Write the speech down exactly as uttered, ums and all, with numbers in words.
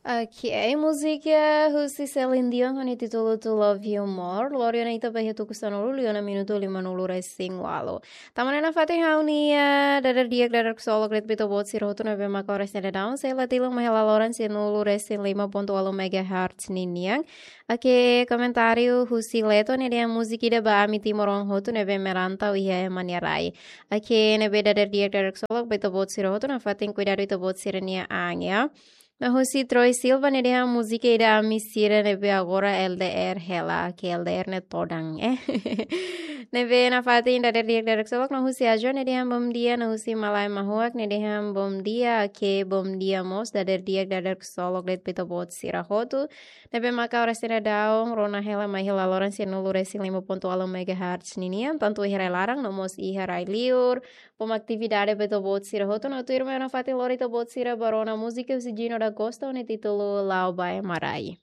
Ok, múzika husi Celine Dion ho nia títulu To Love You More. Lori ona ita ba iha tuku sanulu liu ona minutu lima-nulu resin ualu. Tama ona nafatin ha'u-nia dadeer di'ak, dadeer ksolok de'it ba ita-boot sira hotu ne'ebé maka oras ne'e daudaun sei la tilun mai hela loron sianulu resin lima pontu ualu megahertz ninian. Ok, komentáriu husi Leto ne'e dehan múzika ida ba ami timoroan hotu ne'ebé merantau iha ema nia rai. Ok, ne'ebé dadeer di'ak, dadeer ksolok ba ita-boot sira hotu, nafatin kuidadu ita-boot sira-nia an, ya. No husi Troy Silva ne'e dehan múzika ida ami sira ne'ebé agora L D R hela, ke L D R ne'e todan, eh. Ne'ebé nafatin dadeer di'ak, dadeer ksolok. No husi Ajo ne'e dehan bom dia, no husi Malae Mahuak ne'e dehan bom dia, ke bom dia mós, dadeer di'ak, dadeer ksolok de'it ba ita-boot sira hotu. Ne'ebé maka oras ne'e daudaun rona hela mai hela loron sianulu resin lima pontu ualu megahertz ninian, tantu iha rai-laran no mós iha rai-liur. Bom atividade ba ita-boot sira hotu, no tuirmai ona nafatin lori ita-boot sira ba rona múzika husi Gino da Costa ho nia títulu La'o ba Ema Rai.